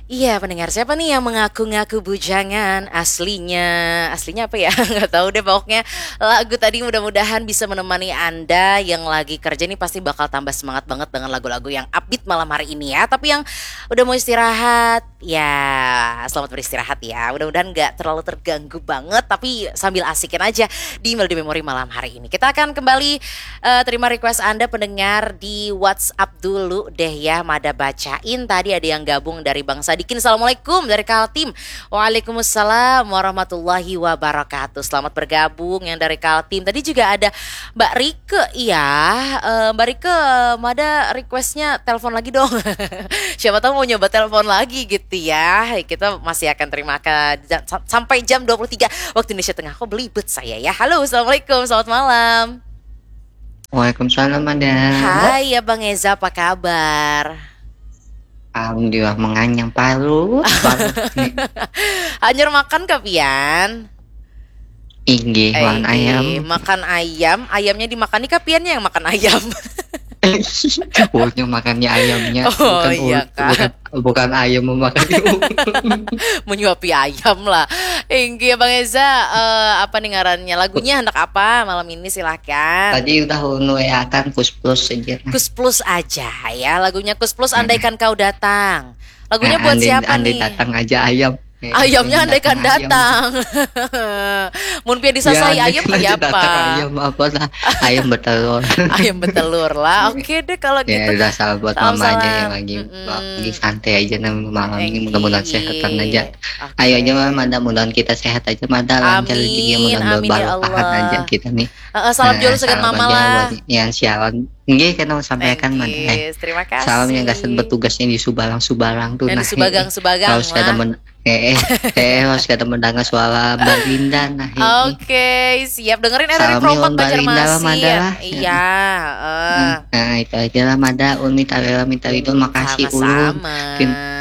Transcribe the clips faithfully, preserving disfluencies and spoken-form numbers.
Iya, pendengar, siapa nih yang mengaku-ngaku bujangan? Aslinya, aslinya apa ya? Nggak tahu deh, pokoknya lagu tadi mudah-mudahan bisa menemani Anda yang lagi kerja nih, pasti bakal tambah semangat banget dengan lagu-lagu yang upbeat malam hari ini ya. Tapi yang udah mau istirahat, ya selamat beristirahat ya. Mudah-mudahan nggak terlalu terganggu banget, tapi sambil asikin aja di Melody Memory malam hari ini. Kita akan kembali eh, terima request Anda pendengar di WhatsApp dulu deh ya, Mada bacain. Tadi ada yang gabung dari Bang Sadikin. Assalamualaikum dari Kaltim. Waalaikumsalam warahmatullahi wabarakatuh. Selamat bergabung yang dari Kaltim. Tadi juga ada Mbak Rike, iya. Eh, Mbak Rike, Mada requestnya telepon lagi dong. Siapa tahu mau nyoba telepon lagi gitu ya. Kita masih akan terima ke ja- sa- sampai jam dua puluh tiga waktu Indonesia Tengah. Kok belibet saya ya. Halo, assalamualaikum, selamat malam. Waalaikumsalam, Mada. Hai Abang Eza, apa kabar? Alhamdulillah, menganyang parut. Parut nih. Hanyar makan kah pian? Inggih, Eh, wan ayam. Makan ayam, ayamnya dimakan nih kah piannya yang makan ayam? Pokoknya makannya ayamnya. Oh, iya, ul- Kak. Bukan, bukan ayam memakan ul- Menyuapi ayam lah. Inggih Bang Eza, eh, apa nih ngarannya? Lagunya hendak apa malam ini, silahkan. Tadi udah unu ya kan, Kus Plus aja. Kus Plus aja ya, lagunya Kus Plus, Andaikan Kau Datang. Lagunya Nah, buat andai, siapa andai nih? datang aja ayam. Eh, Ayamnya andai andaikan datang ayam. Datang. Mun pian disasai Ya, andai, ayam andai kayak datang apa? Ayam apa lah? Ayam bertelur. Ayam bertelur lah. Oke deh kalau Ya, gitu. udah, salam buat Salam, mama aja salam. yang lagi Mm-mm. lagi santai aja nih malam ini, Enggih. Mudah-mudahan sehatan aja. Oke. Ayo aja, Mada, mudahan kita sehat aja, Mada, lancar rezekinya, Amin, mudah-mudahan amin ya barokah Allah. Aja kita nih. Heeh, salam Nah, jual segan salam mama aja lah. Buat yang siaran. Nggih, kita mau sampaikan, Mada. Eh, Enggih, terima kasih. Salam yang gasan bertugasnya di Subalang-Subalang tuh, Yang nah, di Subagang-Subagang harus kada lah. men- eh, eh, eh, harus kada mendengar suara Balinda, nah, ini. Oke, siap. Dengerin R R I Salam Pro empat Iwan Balinda lah, Mada Banjarmasin. Lah. Iya, eh. Hmm, nah, itu aja lah, Mada. Ulun minta rela, minta ridho. Makasih, Ulun. Sama-sama.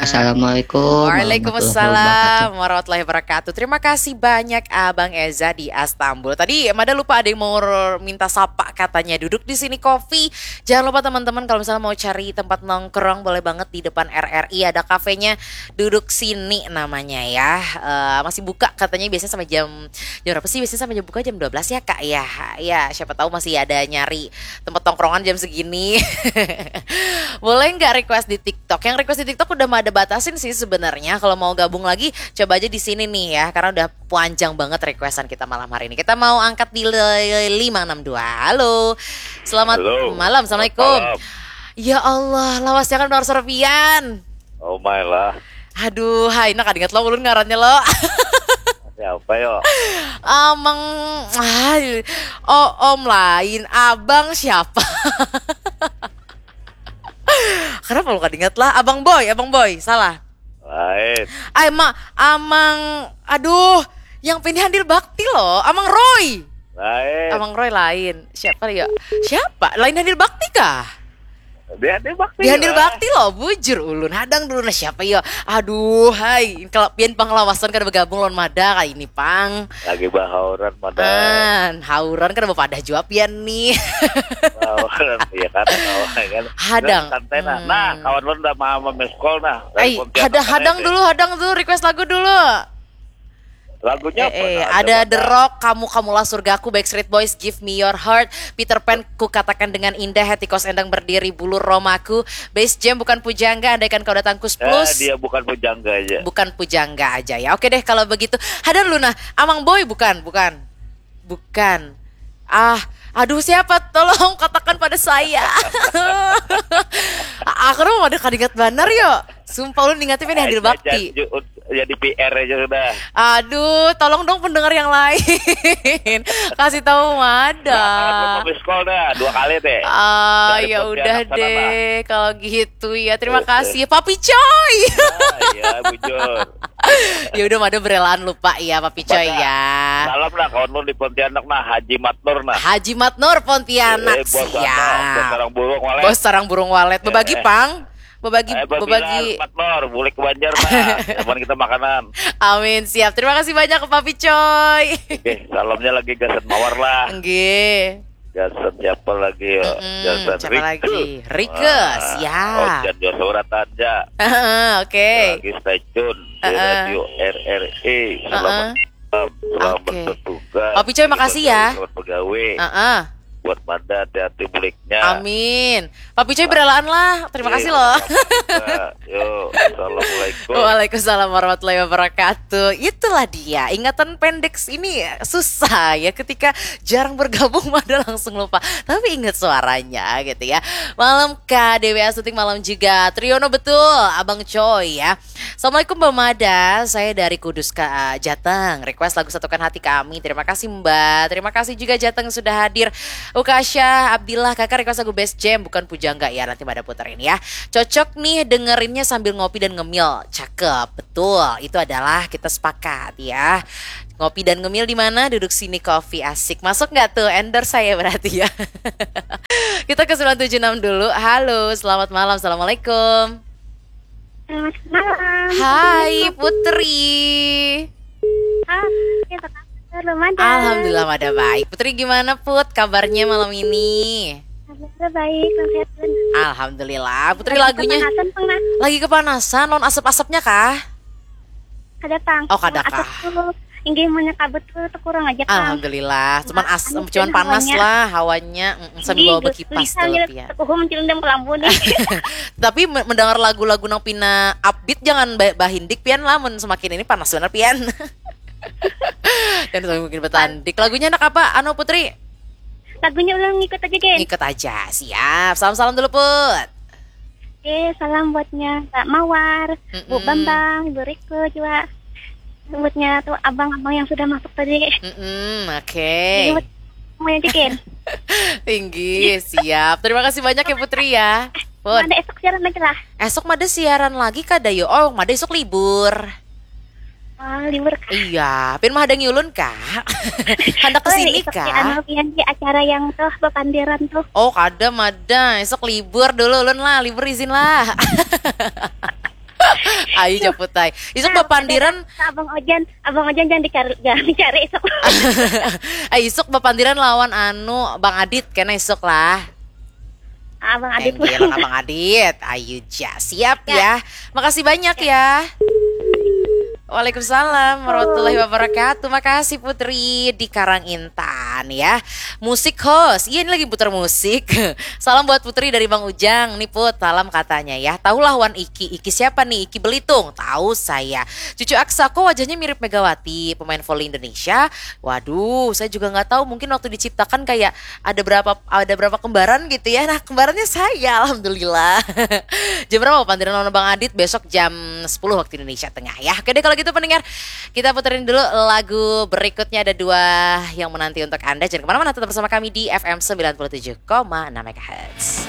Assalamualaikum warahmatullahi wabarakatuh. Waalaikumsalam warahmatullahi wabarakatuh. Terima kasih banyak Abang Eza di Astambul. Tadi Mada lupa ada yang mau r- minta sapa katanya. Duduk di sini Coffee. Jangan lupa teman-teman, kalau misalnya mau cari tempat nongkrong, boleh banget di depan R R I, ada kafenya Duduk Sini namanya ya. Eh, masih buka katanya, biasanya sampai jam jam berapa sih? Biasanya sampai jam buka jam dua belas ya, Kak, ya. Ya, siapa tahu masih ada nyari tempat tongkrongan jam segini. Boleh nggak request di TikTok? Yang request di TikTok udah ada batasin sih sebenarnya. Kalau mau gabung lagi, coba aja di sini nih ya, karena udah panjang banget requestan kita malam hari ini. Kita mau angkat di le- lima enam dua. Halo. Selamat Halo. Malam. Assalamualaikum. Malam. Ya Allah, lawasnya kan nomor serpian. Oh my lah. Aduh, hai, nak ingat lo ulun ngarannya lo. Siapa yo? Amang, ay, oh, om lain, abang siapa? Kenapa lo kada ingat lah? Abang Boy, Abang Boy, salah. Lain. Ay, ma, Amang, aduh, yang pindah handil bakti lo, Amang Roy. Lain. Amang Roy lain. Siapa ya? Siapa? Lain handil bakti kah? Dia dia bakti. Di handil lah. Bakti lo, bujur ulun. Hadang dulu nah siapa ya? Aduh, hai, kalau pian pang lawasan kada bergabung lawan Mada kali ini pang. Lagi bahauran Mada. An, hauran kada berpadah jua pian nih. Bahauran, iya kan, bahauran kan. Hadang. Santai nah. Hmm. Nah, kawan lu udah mau miss call nah. Ay, Pontianak hadang, ada hadang nih. Dulu, hadang dulu, request lagu dulu. Lagunya apa? Eh, eh, Nah, ada Mada. The Rock, Kamu Kamulah Surgaku, Backstreet Boys, Give Me Your Heart, Peter Pan, Ku Katakan Dengan Indah, Hati Kos Endang Berdiri, Bulu Romaku, Bass Jam, Bukan Pujangga, Andaikan Kau Datang, Kus Eh, Plus. Dia Bukan Pujangga aja. Bukan Pujangga aja ya. Oke deh kalau begitu. Hadang dulu nah, Amang Boy bukan, bukan. Bukan. Ah, aduh siapa? Tolong katakan pada saya. Aku mah kada ingat banar yo. Sumpah ulun ingatnya pian handil bakti. Jadi, jadi P R aja sudah. Aduh, tolong dong pendengar yang lain. Kasih tahu Mada. Nah, kalau belum miss call dah, dua kali deh. Ah, Dari ya Pontianak udah sana deh lah. Kalau gitu ya. Terima Oke. Kasih Papi Coy. Nah, ya bujur. Ya udah, Mada berelaan lupa ya Papi Coy Mada. Ya. Salam lah kawan lu di Pontianak nah, Haji Matnur nah. Haji Matnur Pontianak. Eh, bos sana, Siap. bos sarang burung walet. Bos sarang burung walet. Bebagi Eh, eh. Pang. Bebagi, Eh, Bos bebagi. Bilal, Matnur, bulik ke Banjar nah. Zaman kita makanan. Amin, siap. Terima kasih banyak ke Papi Coy. Oke, salamnya lagi gasan mawar lah. Nggih. Jason siapa lagi ya? Mm-mm, Jason siapa Rike. Lagi? Rike, Wah, siap. Ojan dua suratan ja. Heeh, oke. Lagi stay tune di Heeh. Radio R R I. Selamat Heeh. malam, selamat Oke. bertugas. Papi Coy, makasih ya. Selamat pegawai. Heeh. Buat Mada, hati-hati muliknya. Amin. Papi Coy beralaan lah. Terima kasih Iya, loh. sama-sama juga. Yo, assalamualaikum. Waalaikumsalam warahmatullahi wabarakatuh. Itulah dia. Ingatan pendek ini susah ya, ketika jarang bergabung mada langsung lupa. Tapi ingat suaranya gitu ya. Malam Kak Dewi Astuti, malam juga Triyono, betul, Abang Coy ya. Assalamualaikum Mbak Mada, saya dari Kudus Ka Jateng. Request lagu Satukan Hati Kami. Terima kasih Mbak. Terima kasih juga Jateng sudah hadir. Ukasha Abdillah, Kakak request lagu Best Jam, bukan Pujangga ya, nanti Mada puterin ya. Cocok nih dengerinnya sambil ngopi dan ngemil. Cakep, betul. Itu adalah kita sepakat ya. Ngopi dan ngemil di mana? Duduk sini, coffee asik. Masuk nggak tuh? Endorse saya berarti ya. Kita ke sembilan tujuh enam dulu. Halo, selamat malam. Assalamualaikum. Selamat malam. Hai Putri. Hai, apa kabar? Belum ada. Alhamdulillah Mada baik. Putri, gimana Put kabarnya malam ini? Kabar baik, sehat. Alhamdulillah. Putri, lagunya Kepanasan pernah. Lagi kepanasan, lawan asap-asapnya kah? Kada pang. Oh, kada Asap kah? Tuh, inggih, munnya kabut tuh, tuh kurang aja pang. Alhamdulillah. Cuman Nah, as, anu cuman kan panas hawanya. Lah hawanya. Mm-mm, sambil bawa Inggih, bekipas gelisah dulu ya, Pian. Tekuhum cilindam kelambu nih. Tapi me- mendengar lagu-lagu nang pina upbeat, jangan ba- bahindik Pian lah, mun semakin ini panas benar Pian. Dan semakin bertandik. Lagunya anak apa? Anu Putri? Lagunya ulang ngikut aja, Gen. Ikut aja. Siap. Salam-salam dulu Put. Oke, salam buatnya Mbak Mawar, Bu Mm-mm. Bambang, Ibu Riko juga. Buatnya tuh abang-abang yang sudah masuk tadi. Mm-mm, oke. Ingat semuanya aja, Gen. Tinggi, siap. Terima kasih banyak ya Putri ya. Pun. Ada esok siaran lagi lah. Esok Mada siaran lagi kada yo? Oh, Mada esok libur. Wah, libur kah? Iya, Pian mah ada ngiulun kah? Handak ke Oh, sini esok di kah? Anu, Pian, di acara yang tuh bepandiran tuh. Oh, kada Mada. Esok libur dulu ulun lah, libur izin lah. Ayo Japutai. Isuk Nah, bapandiran Abang Ojan, Abang Ojan jangan dicari, jangan dicari esok. Ay, isuk bapandiran lawan anu Bang Adit kena isuk lah. Abang Adit. Tenggelan Abang Adit. Ayu ja. Siap ya. Makasih banyak ya. Waalaikumsalam warahmatullahi wabarakatuh. Makasih Putri di Karang Intan ya. Musik host. Iya, ini lagi putar musik. Salam buat Putri dari Bang Ujang. Nih Put, salam katanya ya. Tahulah Wan Iki. Iki siapa nih? Iki Belitung. Tahu saya. Cucu Aksa, kok wajahnya mirip Megawati, pemain voli Indonesia. Waduh, saya juga nggak tahu. Mungkin waktu diciptakan kayak ada berapa ada berapa kembaran gitu ya. Nah, kembarannya saya, alhamdulillah. Jam berapa bapandiran lawan Bang Adit? Besok jam sepuluh waktu Indonesia Tengah ya. Oke deh, kalau gitu pendengar, kita puterin dulu lagu berikutnya. Ada dua yang menanti untuk Anda. Jangan kemana-mana, tetap bersama kami di F M sembilan puluh tujuh koma enam megahertz.